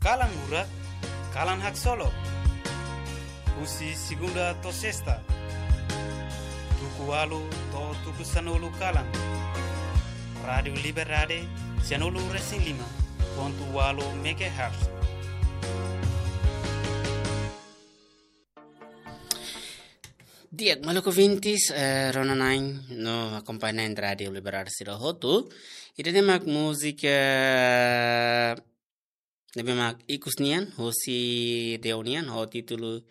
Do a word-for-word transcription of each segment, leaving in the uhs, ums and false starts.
Kalan murak, kalan haksolok. Husi segunda to'o sesta, tuku ualu to'o tuku sanulu kalan. Rádiu Liberdade, sanulu resin lima pontu ualu megahertz. Di'ak, maluk ouvintes, eh, rona-na'in no akompaña na'in Rádiu Liberdade sira hotu. Ida-ne'e mak múzika ne'ebé mak ikus nian, husi Deo nian, ho títulu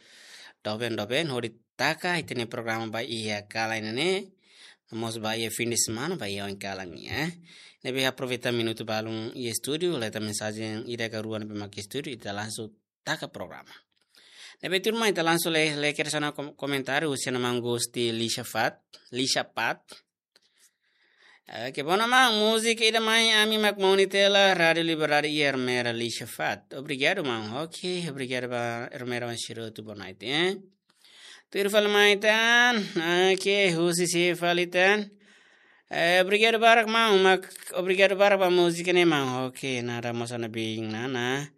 Doben Doben, hodi taka ita-nia programa ba iha kalan ne'e, mós ba iha fin de semana, ba iha oin kalan nian, eh. Ne'ebé aproveita minutu balun iha estúdiu, leta mensajen ida ka rua ne'ebé mak iha estúdiu, ita langsung taka programa. Ne'ebé tuirmai ita langsung lee, lee kedas ona kom-, komentáriu husi maun Gusti Lisha Fat, Lisha Pat. Oke, bona maun, múzika ida mai ami mak moni tiha hela, Rádiu Liberdade iha Ermera Lisha Fat. Obrigadu maun. Oke, obrigadu ba Ermera wan siro tu bonai, eh. Tuir fali mai tan. Oke, husi si fali tan. Eh, obrigadu barak maun, mak obrigadu barak ba múzika ne'e maun. Oke, nada mós ha'u-nia biin Nana.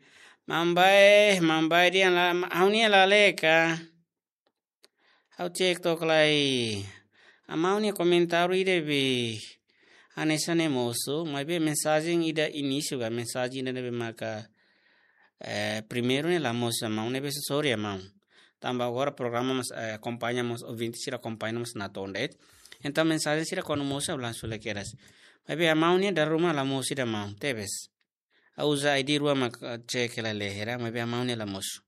Maun Bae, maun Bae dehan la, ha'u-nia lalika. Ha'u cek to'ok lai. Maun nia komentáriu ida be hanesan ne'e mosu, maibé mensajen ida inísiu ka, mensajen ida ne'ebé maka, eh, primeiru ne'e la mosu maun, ne'ebé sorry maun. Tanba agora programa mós, eh, akompaña mós, ouvinte sira akompaña mós natoon de'it. Entaun mensajen sira kuandu mosu langsung lee kedas. Maibé maun nia dala ruma la mosu ida maun, tebes. Ha'u uza I D rua mak, eh, cek hela lee hela, maibé maun nia la mosu.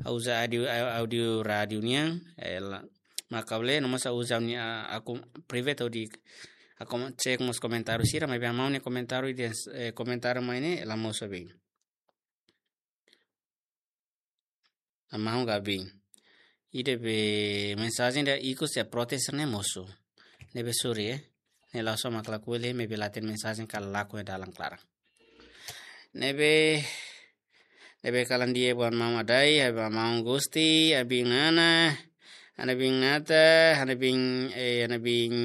Ha'u uza áudiu, au-, áudiu rádiu nian, eh, la, mak ha'u lee, no mós ha'u uza nia, ah, akun private hodi, akun cek mós komentáriu sira, maibé maun nia komentáriu ida, eh, komentáriu mai ne'e la mosu be. Maun Gabi. Ida be mensajen ida ikus iha protes ne'e mosu. Ne'ebé sorry, eh. Ne'e la'ós ha'u mak lakohi, maibé la hatene mensajen ka lakon iha dalan klaran. Ne'ebé, ne'ebé kalan di'ak ba maun Adai, ba maun Gusti, ha'u-nia biin Nana, ha'u-nia biin Nata, ha'u-nia biin, eh, ha'u-nia biin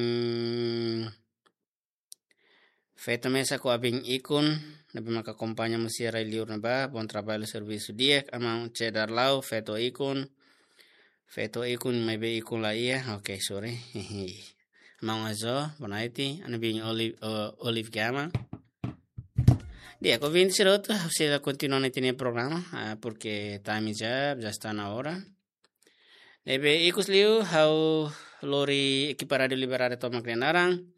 feto mesak ho ha'u-nia biin Ikun, ne'ebé maka akompaña mós sira iha li'ur ne'ebá, bom trabalho, servisu di'ak, maun Cedar Lau, feto Ikun, feto Ikun, maibé Ikun la iha, oke, sorry. Maun Azo, bonaiti, ha'u-nia biin Oli-, o-, Olive Gama. Di'ak, ouvinte sira hotu, ha'u sei la kontinua ita-nia programa, ah, porque time já, já está na hora. Ne'ebé ikus liu, ha'u lori ekipa Rádiu Liberdade tomak nia naran.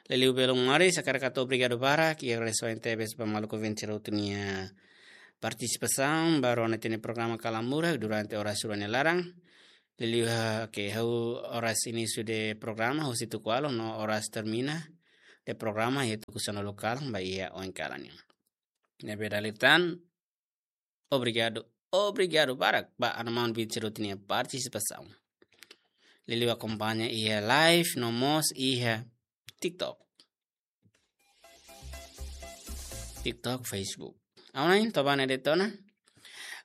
Liuliu belun maris, hakarak hato'o obrigadu barak, i agradese tebes ba maluk ouvinte sira hotu nia partisipasaun, ba rona ita-nia programa Kalan Murak, durante oras rua nia laran. Liuliu ha, oke, ha'u oras inísiu de programa, husi tuku ualu, no oras termina de programa, iha tuku sanulu kalan, ba iha oin kalan nian. Ne'ebé dala ida tan, obrigadu, obrigadu barak ba maun ouvinte sira hotu nia partisipasaun. Liuliu akompaña iha live, no mós iha TikTok. TikTok, Facebook. Online, toba ne'e de'it ona.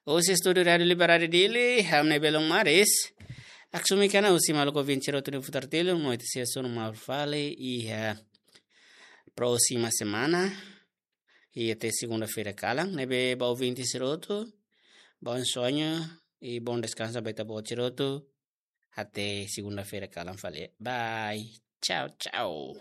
Husi estúdiu Rádiu Liberdade Dili, ha'u-nia belun maris. Aksumi kana husi maluk ouvinte sira hotu nia futar tilun, no ita sei hasoru malu fali iha próxima semana. I até segunda-feira kalan, ne'ebé ba ouvinte sira hotu, bom sonho e bom descanso ba ita-boot sira hotu. Até segunda-feira kalan fali. Bye. Tchau, tchau.